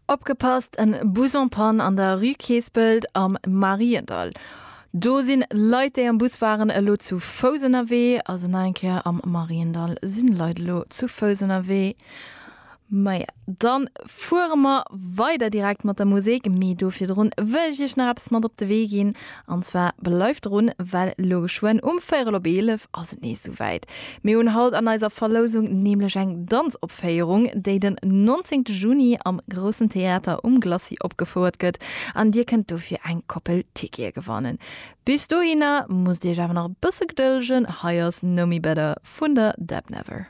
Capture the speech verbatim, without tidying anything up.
Opgepasst, en Bus en panne an der Rue Keespelt am Mariendall. Do sinn Leit déi am Bus waren elo zu Fouss ënnerwee, also nach eng Kéier am Mariendall sinn Leit elo zu Fouss ënnerwee. Maja, dann fuere mer weider direkt mat der Musek, mee do virdrun wëll ech iech nach eppes mat op de Wee ginn. An zwar bleift drun, well elo geschwënn um véierel op eelef ass et nees souwäit. Mir hunn haut an eiser Verlousung nämlech eng Danzopféierung, déi den nonzéngte Juni am Groussen Theater um Glacis opgefouert gëtt an dir kënnt dofir eng Koppel Tickete gewannen. Bis dohinner musst dir iech awer nach e bësse gedëllegen, hei ass Know Me Better vun der Deb Never.